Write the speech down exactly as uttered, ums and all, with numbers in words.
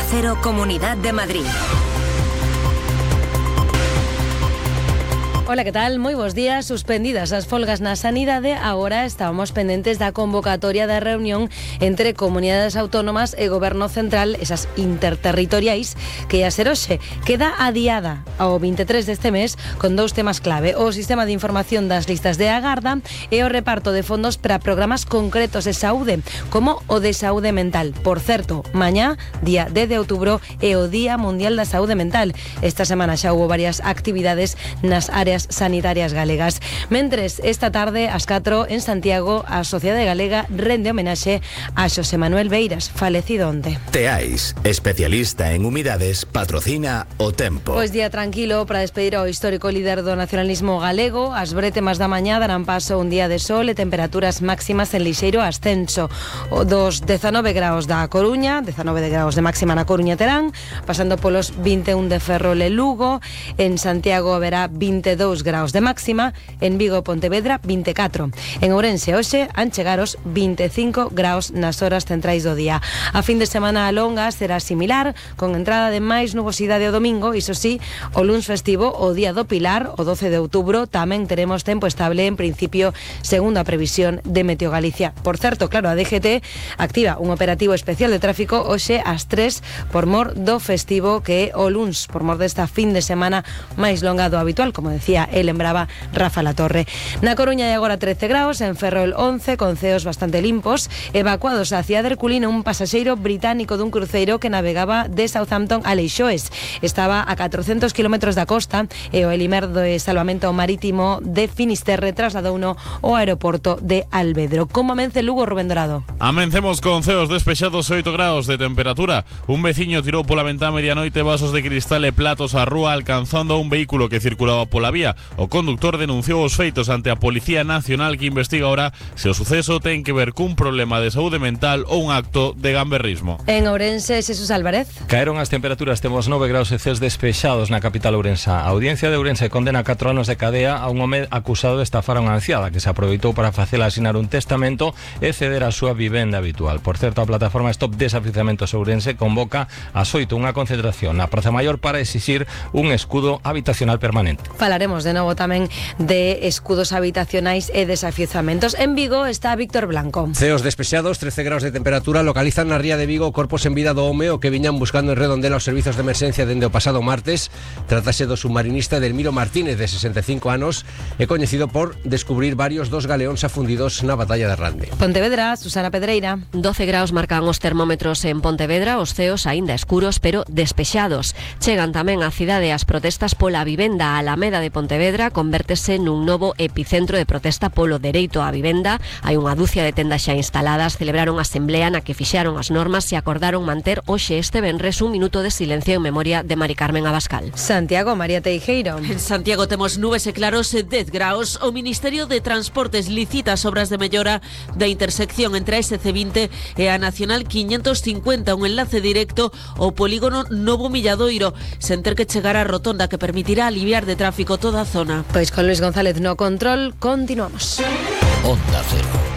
Cero, Comunidad de Madrid. Hola, ¿qué tal? Moi bons días. Suspendidas as folgas na sanidade, agora estábamos pendentes da convocatoria da reunión entre comunidades autónomas e goberno central, esas interterritoriais, que ia ser hoxe. Queda adiada ao veintitrés deste mes con dous temas clave: o sistema de información das listas de agarda e o reparto de fondos para programas concretos de saúde, como o de saúde mental. Por certo, mañá, día dez de outubro, é o Día Mundial da Saúde Mental. Esta semana xa houve varias actividades nas áreas sanitarias galegas. Mentres, esta tarde, ás catro, en Santiago, a Sociedade Galega rende homenaxe a Xosé Manuel Beiras, falecido onte. Teais, especialista en humidades, patrocina o tempo. Pois día tranquilo para despedir ao histórico líder do nacionalismo galego. As brétemas da mañá darán paso un día de sol e temperaturas máximas en lixeiro ascenso. O dos dezanove graus da Coruña, dezanove graus de máxima na Coruña terán, pasando polos vinte e un de Ferrol e Lugo. En Santiago haberá veintidós graus de máxima, en Vigo e Pontevedra vinte e catro. En Ourense hoxe han chegar os vinte e cinco graus nas horas centrais do día. A fin de semana longa será similar, con entrada de máis nubosidade o domingo. Iso sí, o luns festivo, o día do Pilar, o doce de outubro, tamén teremos tempo estable en principio, segundo a previsión de Meteo Galicia. Por certo, claro, a D G T activa un operativo especial de tráfico hoxe ás tres por mor do festivo, que é o luns, por mor desta fin de semana máis longa do habitual, como decía el lembraba Rafa Latorre. Na Coruña hai agora trece graus, en Ferrol once, con ceos bastante limpos. Evacuados a cidade de Herculino un pasaxeiro británico dun cruceiro que navegaba de Southampton a Leixoes. Estaba a catrocentos kilómetros da costa e o Elimer de Salvamento Marítimo de Finisterre trasladouno ao aeroporto de Alvedro. Como amence Lugo, Rubén Dorado? Amencemos con ceos despexados, oito graus de temperatura. Un veciño tirou pola ventá medianoite vasos de cristal e platos á rúa, alcanzando a un vehículo que circulaba pola vía. O conductor denunciou os feitos ante a Policía Nacional, que investiga ahora se o suceso ten que ver cun problema de saúde mental ou un acto de gamberrismo. En Ourense, Xesús Álvarez. Caeron as temperaturas, temos nove graus e ceos despexados na capital ourensa. A Audiencia de Ourense condena catro anos de cadea a un home acusado de estafar a unha anciada que se aproveitou para facela asinar un testamento e ceder a súa vivenda habitual. Por certo, a plataforma Stop Desafiuzamentos Ourense convoca ás oito unha concentración na Praza Maior para exixir un escudo habitacional permanente. Falaremos de novo tamén de escudos habitacionais e desafiuzamentos. En Vigo está Víctor Blanco. Ceos despexados, trece graus de temperatura, localizan na ría de Vigo corpos en vida do home o que viñan buscando en Redondela os servizos de emerxencia dende o pasado martes. Trátase do submarinista Edelmiro Martínez, de sesenta e cinco anos, e coñecido por descubrir varios dos galeóns afundidos na batalla de Rande. Pontevedra, Susana Pedreira. doce graus marcan os termómetros en Pontevedra, os ceos aínda escuros pero despexados. Chegan tamén á cidade as protestas pola vivenda. A Alameda de Pontevedra convértese nun novo epicentro de protesta polo dereito á vivenda. Hai unha dúcia de tendas xa instaladas. Celebraron a asamblea na que fixaron as normas e acordaron manter hoxe este venres un minuto de silencio en memoria de Mari Carmen Abascal. Santiago, María Teijeiro. En Santiago temos nubes e claros e dez graus. O Ministerio de Transportes licita as obras de mellora da intersección entre a S C vinte e a Nacional quinhentos cincuenta, un enlace directo ao polígono Novo Milladoiro, sen ter que chegar á rotonda, que permitirá aliviar de tráfico toda a zona. Pois con Luis González no control, continuamos. Onda Cero.